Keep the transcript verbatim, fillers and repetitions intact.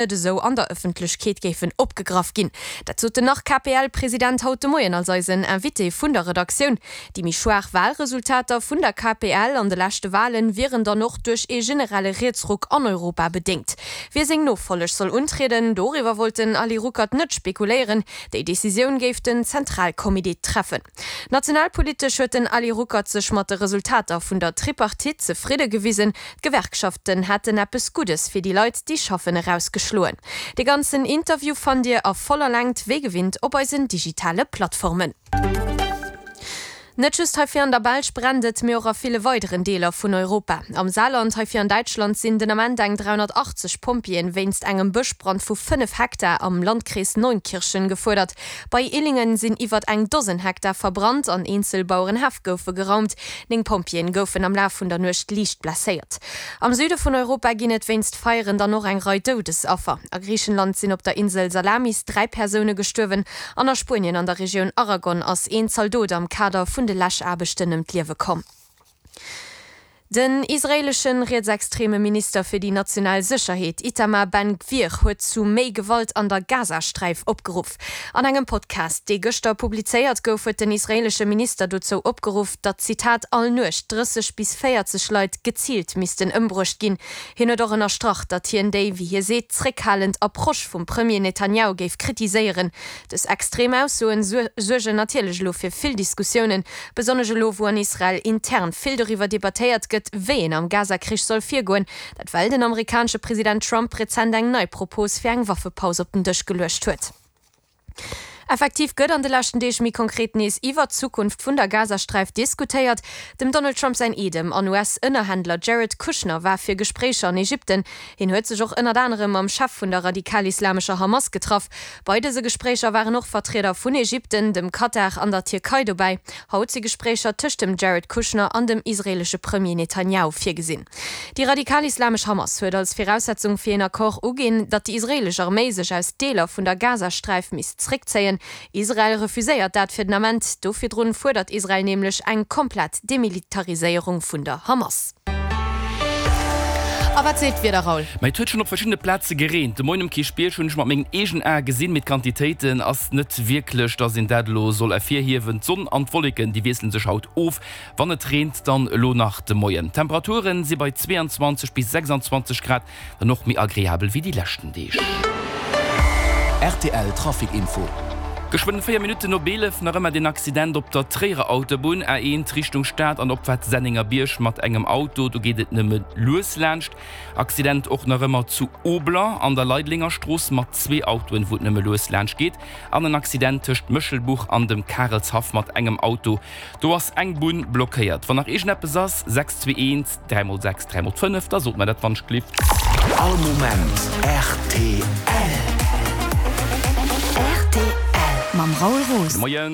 net esou an der Ëffentlechkeet géifen opgegraff ginn. Dat sot den Nach-KPL-President haut de Moien als eisen Invité vun der Redaktioun. Déi méi schwaach Walresultater vun der K P L an de leschte Walen wieren dann och duerch ee generelle Rietsruck an Europa bedéngt. Wie seng Nofolleg soll untrieden, doriwwer wollt den Ali Ruckert net spekuléieren, déi Decisioun géif den Zentralcomité treffen. Nationalpolitesch huet den Ali Ruckert sech mat de Resultater vun der Tripartite zefridde gewisen, d'Gewerkschaften hätten eppes Guddes fir déi Leit, déi schaffen, erausgeschloen. De ganzen Interview fannt Dir a voller Längt wéi gewinnt op eisen digitale Plattformen. Net just hei fir an der Belsch brennt et, mee och a ville weideren Deeler vun Europa. Am Saarland, hei fir an Däitschland sinn den Ament eng dräihonnertachtzeg Pompjeeën wéinst engem Bëschbrand vu fënnef Hektar am Landkrees Neunkirchen gefuerdert. Bei Illingen sinn iwwert eng Dosen Hektar verbrannt an eenzel Bauerenhäff goufe geraumt. Néng Pompjeeën goufen am Laf vun der Nuecht liicht blesséiert. Am Süde vun Europa ginn et wéinst Feieren dann och eng Rei Doudesaffer. A Griichenland sinn op der Insel Salamis dräi Persoune gestuerwen an a Spuenien an der Regioun Aragon ass een Zaldot am Kader vun de Läschaarbechten ëm d'Liewe komm. Den israeelesche rietsextreme Minister fir déi national Sécherheet Itamar Ben-Gvir huet zu méi Gewalt an der Gazasträif opgeruff. An engem Podcast, dee gëschter publizéiert gouf, huet den israeelesche Minister dozou opgeruff, datt, Zitat, all Nuecht drësseg bis véierzeg Leit geziilt missten ëmbruecht ginn. Hien huet och ënnerstrach, datt hien déi, wéi hie seet, zréckhalend Approche vum Premier Netanjahu géif kritiséieren. Dës extrem Aussoen suergen natierlech elo fir vill Diskussiounen, besonnesch elo wou an Israel intern vill doriwwer debattéiert gëtt, wéi een am Gaza-Krich soll virgoen, dat well den amerikanesche President Trump rezent eng nei Propos fir eng Waffepaus op den Dësch geluecht huet. Effektiv gëtt an de leschten Deeg méi konkret nees iwwer d'Zukunft vun der Gazasträif diskutéiert. Dem Donald Trump säin Eedem an U S-Ënnerhändler Jared Kushner war fir Gespréicher an Ägypten. Hien huet sech och ënnert anerem mam Chef vun der radikal-islamescher Hamas getraff. Bei dëse Gespréicher waren och Vertrieder vun Ägypten, dem Katar an der Tierkei dobäi. Haut si Gespréicher tëscht dem Jared Kushner an dem israeelesche Premier Netanjahu virgesinn. Déi radikal-islamesch Hamas huet als Viraussetzung fir een Accord uginn, datt déi israeelesch Arméi sech aus Deeler vun der Gazasträif misst zréckzéien. Israel refuséiert dat fir den Ament. Do virdrun fuerdert Israel nämlech eng komplett Demilitariséierung vun der Hamas. A wat seet d'Wieder, Raoul? Mä et huet schonn op verschiddene Plaze gereent. De Moien um Kierchbierg hunn ech mat mengen eegenen Ae gesinn, mee d'Quantitéiten ass net wierklech, dass een dat elo soll ervirhiewen. D'Sonn an d'Wolleken, déi wiessele sech haut of. Wann et reent, dann elo nach de Moien. D'Temperaturen si bei zweeanzwanzeg bis sechsanzwanzeg Grad, dann och méi agreabel wéi déi leschten Deeg. R T L Trafic Info. Geschwënn véier Minutten no eelef, nach ëmmer den Accident op der Tréierer Autobunn A eent Richtung Stad an Opfaart Sennengerbierg mat engem Auto, do geet et nëmme lues laanscht. Accident och nach ëmmer zu Obler an der Leidlenger Strooss mat zwee Autoen, wou et nëmme lues laanscht geet. An en Accident tëscht Méchelbuch an dem Karelshaff mat engem Auto, do ass eng Bunn blockéiert. Wann nach iergendeppes ass, sechs zwee eent dräi mol sechs dräi mol fënnef, da sot mer dat wannschgelift. All Moment R T L. R T L mam Raoul Roos. Moien.